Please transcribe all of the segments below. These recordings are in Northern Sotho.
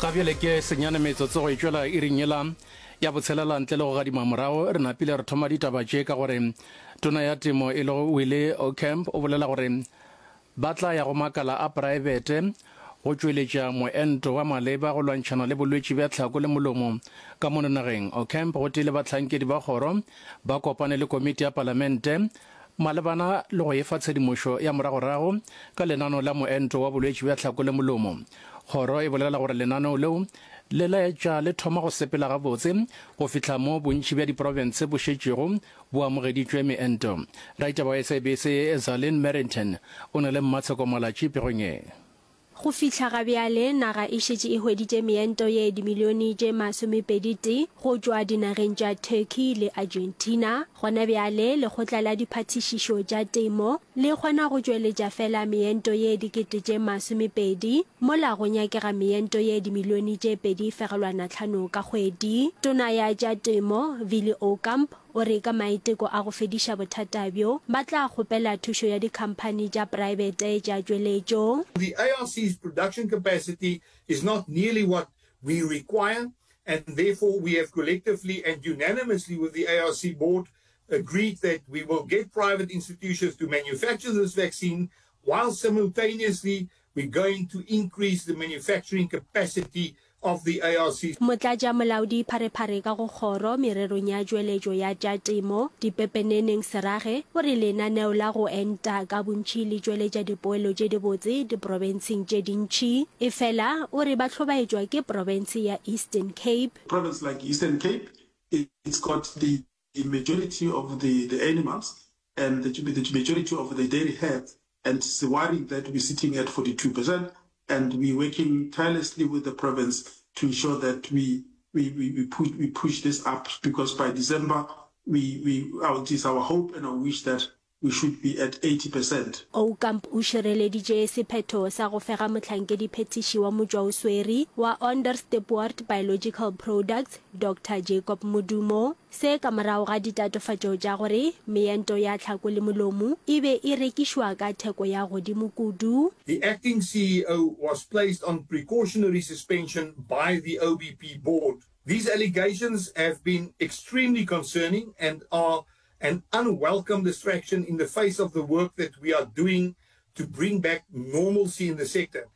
Ga bjale ke senyane metsotso go e tšwela iring yela ya botshelela ntle le go gadima morago. Re napile re thoma ditaba tše ka gore Tona ya Temo e lego Willie Aucamp o bolela gore ba tla ya go makala a praebete go tšweletša moento wa maleba go lwantšhana le bolwetši bja tlhako le molomo ka mono nageng. Aucamp gotee le bahlankedi ba kgoro ba kopane le komiti ya palamente malebana le go efa tshedimošo ya moragorago ka lenaneo la moento wa bolwetši bja tlhako le molomo. Kgoro e bolela gore lenaneo leo le laetša le thoma go sepela gabotse go fihla mo bontši bja diprofense bo šetšego bo amogeditšwe meento. Raitaba wa SABC Zalin Merrington o na le Mmatsheko Malatji pegong ye. Go fihla ga bjale, naga e šetše e hweditše meento ye dimilione tše masomepedi-tee go tšwa dinageng tša Turkey le Argentina. Gona bjale, Lekgotla la Diphathišišo tša Temo le kgona go tšweletša fela meento ye dikete tše masomepedi, mola go nyakega meento ye dimilione tše 2.5 ka kgwedi. Tona ya tša Temo, Willie Aucamp, O re ka maiteko a go fediša bothata bjo, ba tla kgopela thušo ya dikhamphani tša praebete tša tšweletšo. The ARC's production capacity is not nearly what we require and therefore we have collectively and unanimously with the ARC board agreed that we will get private institutions to manufacture this vaccine while simultaneously we're going to increase the manufacturing capacity of the ARC. Motlatšamolaodi Pharephare ka go Kgoro mererong ya tšweletšo ya tša temo, Dipepeneneng Serage, o re lenaneo la go enta ka bontši le tšweletša dipoelo tše dibotse diprofenseng tše dintši. Efela o re ba hlobaetšwa ke profense ya Eastern Cape. Province like Eastern Cape, it's got the majority of the the animals and the the majority of the dairy herds and it's worrying that we're sitting at 42% and we're working tirelessly with the province to ensure that we we we we push we push this up because by December we we our it is our hope and our wish that we should be at 80%. Aucamp o šireleditše sephetho sa go fega mohlankediphethiši wa motšwaoswere wa Onderstepoort Biological Products, Doctor Jacob Modumo. Se ka morago ga ditatofatšo tša gore meento ya tlhako le molomo e be e rekišwa ka theko ya godimo kudu. The acting CEO was placed on precautionary suspension by the OBP board. These allegations have been extremely concerning and are an unwelcome distraction in the face of the work that we are doing to bring back normalcy in the sector.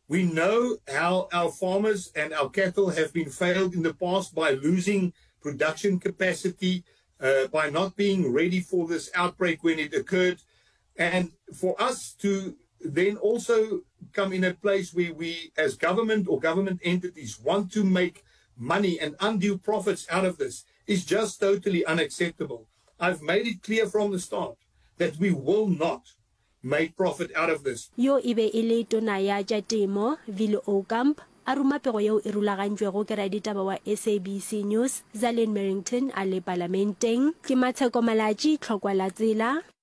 We know how our farmers and our cattle have been failed in the past by losing production capacity, uh, by not being ready for this outbreak when it occurred. And for us to then also come in a place where we, as government or government entities, want to make money and undue profits out of this is just totally unacceptable. I've made it clear from the start that we will not make profit out of this. Yo e be e le Tona ya tša Temo, Willie Aucamp, a ruma pego yeo e rulagantšwego ke raditaba wa SABC News, Zalene Merrington a le Palamenteng. Ke Matsheko Malatji, Tlhokwa la Tsela.